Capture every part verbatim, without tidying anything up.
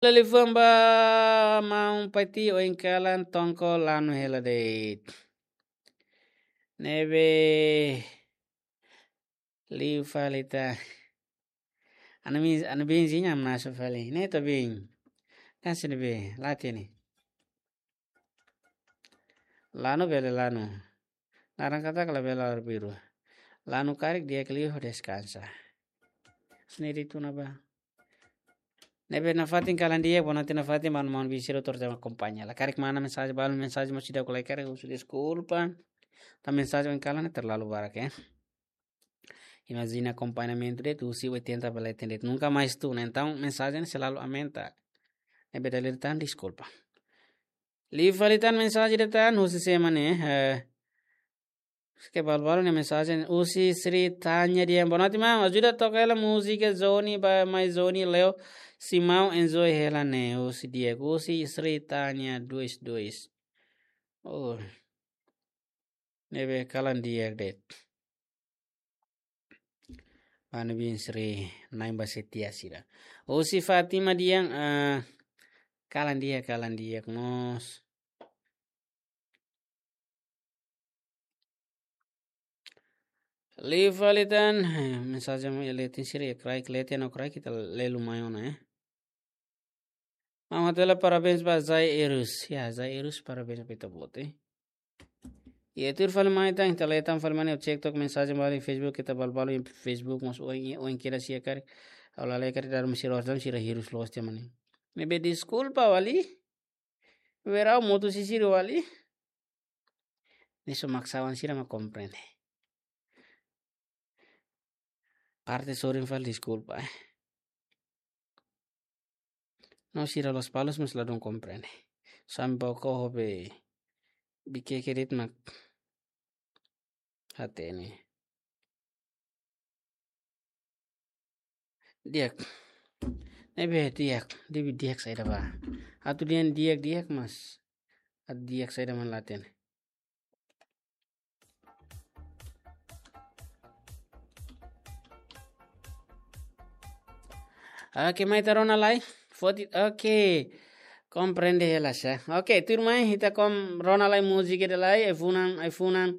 Liafuan ba maun Pati, oin kalan tongko lanu hela de'it. Ne'ebé liu fali tan. Anu mi, anu bin zinya masa fali. Ne'e to bin. Kan sini be, lati ni. Lanu bele lanu. Laran katak labele arbiru. Lanu karik di'ak liu deskansa. Sini di tuna ba. Ne'ebé nafatin kalan di'ak, bo nanti nafatin manu manu bisiru tor jama akompaña. La karik mana mensajen, balu mensajen mós seidauk ko'alia karik husu deskulpa. Tan mensajen oin kalan ne'e terlalu barak, eh. Imajina akompañamentu de'it, husi oitenta bele atende. Nunka mais tun, entaun mensajen selalu aumenta. Ne'ebé dala ida tan deskulpa. Liu fali tan mensajen de'it tan, husi sé mak ne'e, eh, ke balu-balu ne'e mensajen, husi Sri Tanya Diang. Boa noite, maun. Ajuda toka hela múzika Zoni ba, mai Zoni Leo. Simão enjoy hela ne'e, husi di'ak. Husi Sri Tanya dois dois. Oh. Ne'ebé kalan di'ak de'it. Manu bin Sri, nain ba setia sira. Husi Fatima Diang, ah, kalan di'ak, kalan di'ak mós. Liu fali tan, eh, mensajen mai leten sira, ya, kraik leten no kraik ita lelu mai ona, eh. Maun hato'o hela parabéns ba Zai Erus. Ya, Zai Erus, parabéns ba ita-boot, eh. Ya, tuir fali mai tan, ita leten fali mai ne'e, cek tok mensajen balu iha Facebook, ita balu-balu iha Facebook, mós oin, oin kira sia karik. Ha'u la lee karik, daru misi roh dam sira hirus loos tiha mai ne'e. Ne'ebé deskulpa wali. Werau motu sisir wali. Ne'e só maksawan sira mak komprende. Parte sorin fali deskulpa, eh. No sira Lospalos mós ladún komprende. Sampai ko hobe bike kredit mak hatene. Di'ak. Ne'ebé di'ak, di'ak, di'ak saida ba. Atu dehan di'ak, di'ak mas. Atu di'ak saida mak la hatene. Oke, mai ita rona lai. Foti, oke. Komprende hela sa. Oke, tuirmai, ita kom rona lai múzika ida lai, ai-funan, ai-funan,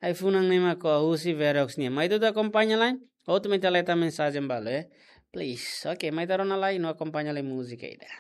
ai-funan ne'e mak husi Verox nian. Mai ita akompaña lai. Hotu mai ita leten mensajen balu, eh. Please. Oke, mai ita rona lai, no akompaña lai múzika ida.